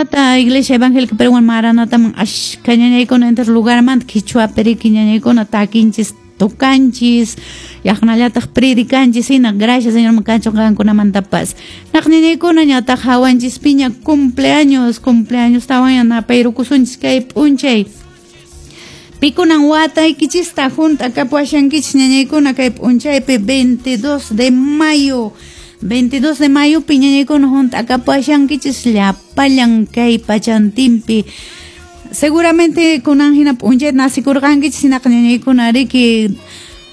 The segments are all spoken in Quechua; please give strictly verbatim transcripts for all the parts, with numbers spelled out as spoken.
Imaynata Iglesia Evangélica Peruana Maranataman ashka ñañaykuna entero lugarmanta qichwapi riki ñañaykuna takinchis, tocanchis, yaqnallataq predicanchis hina. Gracias Señor kachun qankunamantapas. Naq ñañaykuna ñataq hawanchis piña cumpleaños, cumpleaños tawan napayrukusunchis kay p'unchay. Pikunan wataykichista hunt'akapuashankichis ñañaykuna kay p'unchaypi veintidós de mayo. veintidós de mayo pi ñañaykuna hunt'akapuashankichis llapallan kay pachantinpi. Seguramente kunan hina p'unchay nasikurqankichis hinaqa ñañaykuna riki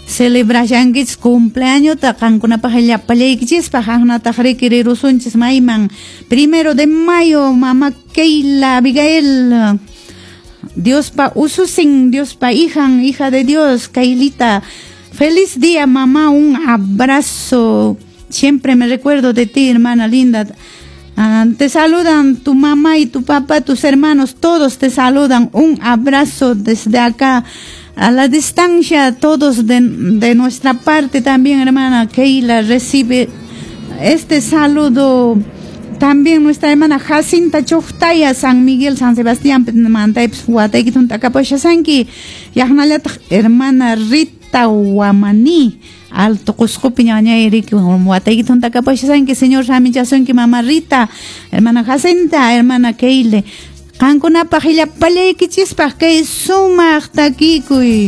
celebrashankichis cumpleañota qankunapaq llapallaykichispaq qankunataq riki rirusunchis mayman. Primero de mayo, mamá Keila Abigail, Diospa ususin, Diospa hijan, hija de Dios, Keilita. Feliz día, mamá, un abrazo. Siempre me recuerdo de ti, hermana linda. Ah, te saludan tu mamá y tu papá, tus hermanos, todos te saludan. Un abrazo desde acá, a la distancia, todos de, de nuestra parte también, hermana Keila, recibe este saludo. También nuestra hermana Jacinta Chohtaya, San Miguel, San Sebastián, mantaypis watayki hunt'akapuashasanki. Yaqnallataq hermana Rita Guamaní, Alto Cuscopi ñañay riki watayki hunt'akapuashasanki. Señor ramichasunki mamá Rita, hermana Jacinta, hermana Keile. Qankunapaq llapallaykichispaq kay sumaq takikuy.